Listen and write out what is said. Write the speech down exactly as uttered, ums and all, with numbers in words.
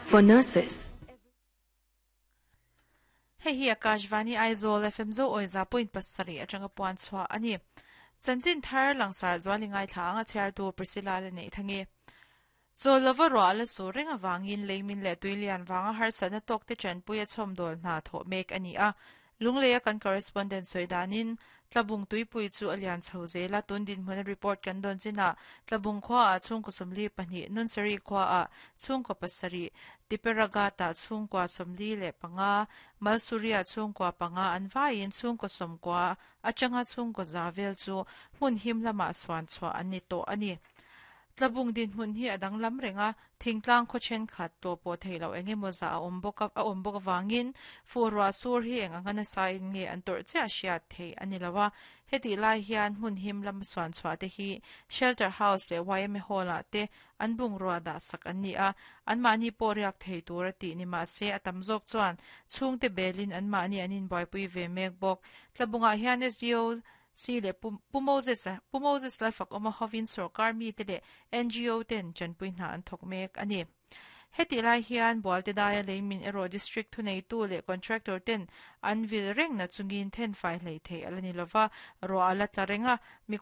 For nurses, Hei hi Akashvani Aizawl F M zo oi za point pasarih atanga puan chhuah a ni. Chanchin thar langsar zuali ngai thla anga chhiar tu Priscilla le nei thangi. Chawl lova ruah la sur reng awangin leimin leh tuilian vanga harsatna tawk te chanpuia chhawmdawl hna thawh mek a ni a. Lungleia kan correspondent sawi danin Tlabung tuipui chu a lian chho zel a, tun dinhmun a report kan dawn chinah Tlabung khuaah chhungkaw sawmli pahnih, Nunsari khuaah chhungkaw pasarih, Tiperagata chhungkua sawmli leh panga, Malsuria chhungkua panga an vaiin chhungkaw sawmkua atanga chhungkaw za vel chu hmun him lamah suan chhuah an ni tawh a ni. Tlabung dinhmun hi a danglam reng a, thingtlang khaw thenkhat tawh pawh theih loh eng emaw zah a awm bawk a awm bawk avangin fuh ruah sur hi eng anga nasa in nge an tawrh chiah hriat theih a ni lo a. Hetih lai hian hmun him lam suan chhuah te hi Shelter House leh Y M A Hall ah te an bungrua dah sak an ni a, anmahni pawh riak thei tur a tih ni mah se a tam zawk chuan chhungte belin anmahni an inbuaipui ve mek bawk. Tlabungah hian S D O C leh Pu Moses Pu Moses Lalfak awma hovin sorkar mite leh N G O ten chanpui hna an thawk mek a ni. Hetih lai hian Bualte daia leimin erawh district thuneitu leh contractor ten an vil reng na chungin then fai hlei thei ala ni lova, ruah ala tla reng a.